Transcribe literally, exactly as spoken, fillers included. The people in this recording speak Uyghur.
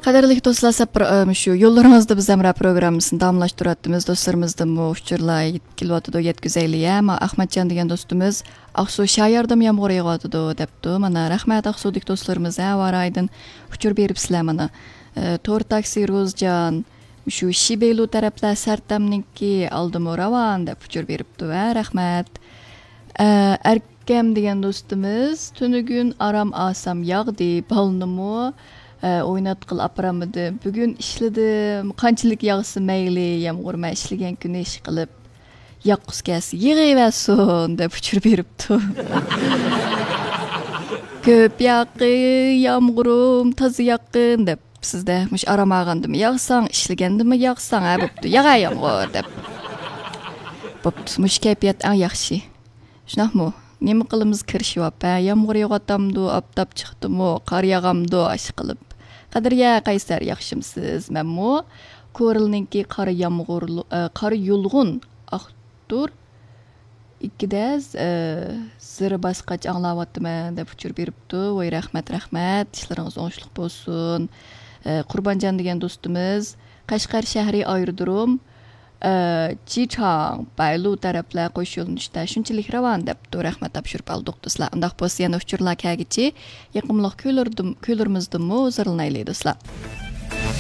قەدىرلىك دوستلار، سەپەر، ئە، شۇ يوللىرىڭىزدا بىز ھەمراھ پروگراممىسىنى داۋاملاشتۇرۇۋاتىمىز. دوستلىرىمىزدىنمۇ ئۇچۇرلار كېلىۋاتىدۇ، يەتكۈزەيلى، ھە. ما ئەخمەتجان دېگەن دوستىمىز، «ئاقسۇ شاياردىمۇ يامغۇر يېغىۋاتىدۇ» دەپتۇ. مانا، رەھمەت ئاقسۇدىكى دوستلىرىمىز، ھە، ھاۋا رايىدىن ئۇچۇر بېرىپسىلەر مانا. ئە، تور تاكسى روزجان، شۇ شىبېيلۇ تەرەپلەر سەرتەمنىڭكى ئالدىمۇ راۋان دەپ ئۇچۇر بېرىپتۇ، ھە، رەھمەت. ئە، ئەركەم دېگەن دوستىمىز، تۈنۈگۈن ئارام ئاسام ياغدى، بالىنىمۇ، ئە، ئويناتقىلى ئاپىرالمىدىم. بۈگۈن ئىشلىدىم، قانچىلىك ياغسا مەيلى، يامغۇر مەن ئىشلىگەن كۈنى ئىشقىلىپ، ياغقۇسى كەلسە يېغىۋەرسۇن دەپ ئۇچۇر بېرىپتۇ. كۆپ ياغقىن، يامغۇرۇم تازا ياغقىن دەپ، سىزدە مۇشۇ ئارام ئالغاندىمۇ ياغساڭ، ئىشلىگەندىمۇ ياغساڭ، ھە، بوپتۇ، ياغە يامغۇر دەپ. بوپتۇ، مۇشۇ كەيپىيات ئەڭ ياخشى. شۇنداقمۇ؟ نېمە قىلىمىز كىرىشىۋاپ، ھە؟ يامغۇر يېغىۋاتامدۇ، ئاپتاپ چىقتىمۇ، قار ياغامدۇ، ئاشۇ قىلىپ. قەدرىيە قەيسەر، ياخشىمسىز؟ مەنمۇ كورلنىڭكى قارا يامغۇرلۇ-، ئە، قارا يۇلغۇن ئاختۇر ئىككىدە، ئە، زىرى باسقاچ ئاڭلاۋاتىمەن دەپ ئۇچۇر بېرىپتۇ. ۋاي، رەھمەت، رەھمەت. ئىشلىرىڭىز ئوڭۇشلۇق بولسۇن. ئە، قۇربانجان دېگەن دوستىمىز، قەشقەر شەھىرى ئايرودروم، ئە، جىچاڭ، بايلۇ تەرەپلەر قوش يۆنىلىشتە شۇنچىلىك راۋان دەپتۇ. رەھمەت، تاپشۇرۇپ ئالدۇق، دوستلار. ئۇنداق بولسا يەنە ئۇچۇرلار كەلگۈچە يېقىملىق كۈيلىرىدىم-، كۈيلىرىمىزدىنمۇ ھۇزۇرلىنايلى، دوستلار.